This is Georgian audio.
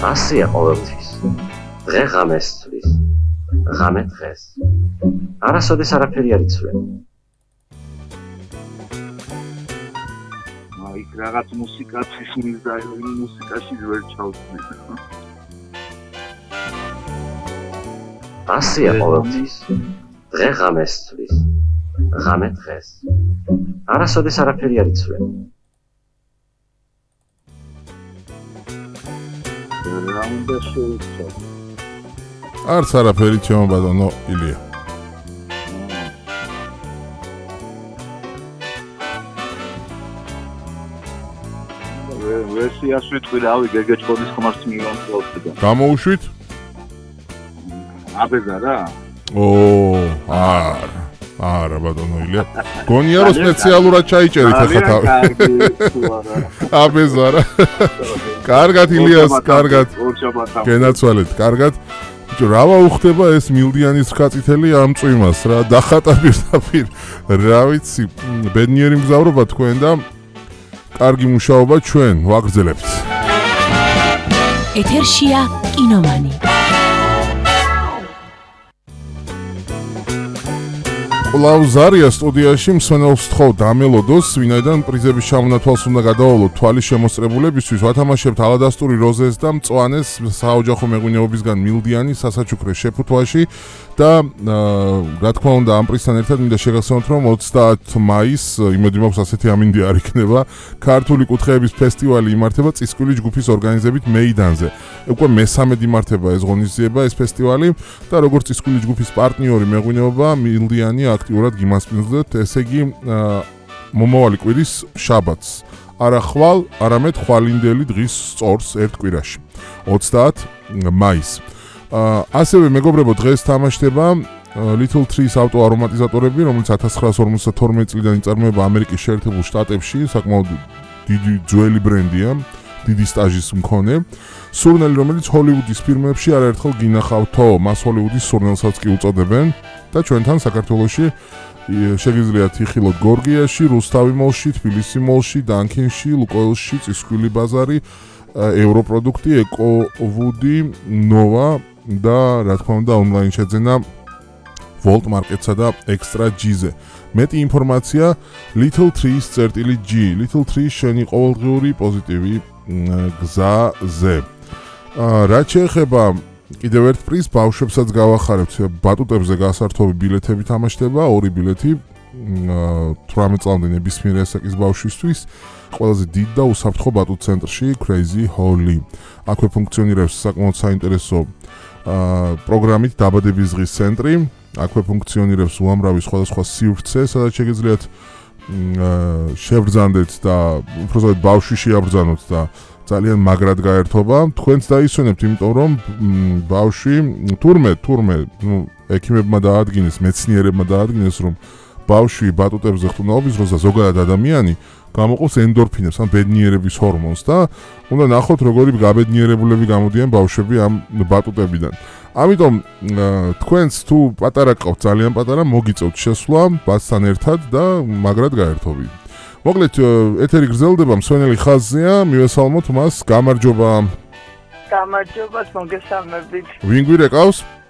ასია ყოველთვის. დღე ღამეს ცვლის. ღამე დღეს. არასოდეს არაფერი არ იცვლება. იქ რაღაც მუსიკა ციხის და მუსიკაში ვერ ჩავწვდი. ასია ყოველთვის. დღე ღამეს ცვლის. ღამე დღეს. არასოდეს არაფერი არ იცვლება. რა უნდა შევიცვალო? არც არაფერი ჩემო ბატონო ილია. ვერსიას ვიტყვი რავი გეგეჭკოდის ხმარს მივამწევდა. გამოუშვით? აბეზა რა? არა ბატონო ილია. გონია რომ სპეციალურად ჩაიჭერით ახლა თავი. აბეზა რა. კარგად ილიას, კარგად. გენაცვალეთ, კარგად. ბიჭო, რა ვაუხდება ეს მილდიანის ხაწითელი ამ წვიმას რა, დახატა პირდაპირ. რა ვიცი, ბედნიერი მგზავრობა თქვენ და კარგი მუშაობა ჩვენ ვაგრძელებთ. ეთერშია კინომანი. ყლავზარია სტუდიაში მსმენელს თხოვ დამელოდოს, ვინაიდან პრიზების ჩამონათვალს უნდა გადავალოთ თვალის შემოსწრებულებისთვის, ვათამაშებთ ალადასტური როზეს და მწვანეს საოჯახო მეღვინეობისგან მილდიანი სასაჩუქრე შეფუთვაში და რა თქმა უნდა ამ პრიზთან ერთად მინდა შეგახსენოთ, რომ 30 მაისს იმედი მაქვს ასეთი ამინდი არ იქნება, ქართული კუთხეების ფესტივალი იმართება წისკვილი ჯგუფის ორგანიზებით მეიდანზე. უკვე მესამედ იმართება ეს ღონისძიება, ეს ფესტივალი და როგორც წისკვილი ჯგუფის პარტნიორი მეღვინეობა მილდიანი აქტიურად გიმასპინძლეთ, ესე იგი მომავალი კვირის შაბათს. არა ხვალ, არამედ ხვალინდელი დღის სწორს ერთ კვირაში. 30 მაისს. ასევე მეგობრებო, დღეს თამაშდება Little Trees ავტოარომატიზატორები, რომელიც 1952 წლიდან იწარმოება ამერიკის შეერთებულ შტატებში, საკმაოდ დიდი ძველი ბრენდია, დიდი სტაჟის მქონე. სურნელი, რომელიც ჰოლივუდის ფილმებში არაერთხელ გინახავთო, მას ჰოლივუდის სურნელსაც კი უწოდებენ და ჩვენთან საქართველოში შეგიძლიათ იხილოთ გორგიაში, რუსთავი მოლში, თბილისი მოლში, დანქინში, ლუკოილში, წისქვილი ბაზარი, ევროპროდუქტი, ეკოვუდი, ნოვა და რა თქმა უნდა ონლაინ შეძენა Volt Market-სა და Extra G-ზე. მეტი ინფორმაცია Little Trees.g. Little Trees შენი ყოველდღიური პოზიტივი გზაზე. რაც შეეხება კიდევ ერთ პრიზს ბავშვებსაც გავახარებთ, ბატუტებზე გასართობი ბილეთები თამაშდება, 2 ბილეთი 18 წლამდე ნებისმიერ ასაკის ბავშვისთვის, ყველაზე დიდ და უსაფრთხო ბატუტ ცენტრში Crazy Holly. აქვე ფუნქციონირებს საკმაოდ საინტერესო პროგრამით დაბადების დღის ცენტრი, აქვე ფუნქციონირებს უამრავი სხვადასხვა სივრცე, სადაც შეგიძლიათ შევბრძანდეთ და უბრალოდ ბავშვი შეაბრძანოთ და ძალიან მაგრად გაერთობა. თქვენც დაისვენებთ, იმიტომ რომ ბავშვი თურმე, ექიმებმა დაადგინეს, მეცნიერებმა დაადგინეს, რომ ბავშვი ბატუტებზე ხტუნაობის დროს და ზოგადად ადამიანი გამოყოფს ენდორფინებს, ან ბედნიერების ჰორმონს და უნდა ნახოთ, როგორი გაბედნიერებულები გამოდიან ბავშვები ამ ბატუტებიდან. ამიტომ თქვენც თუ პატარა ყავთ, ძალიან პატარა, მოგიწევთ შესვლა ბაცთან ერთად და მაგრად გაერთობი. მოკლედ ეთერი გრძელდება, მსვენელი ხაზზეა, მივესალმოთ მას, გამარჯობა. გამარჯობა, მოგესალმებით. ვინ გვირეკავს?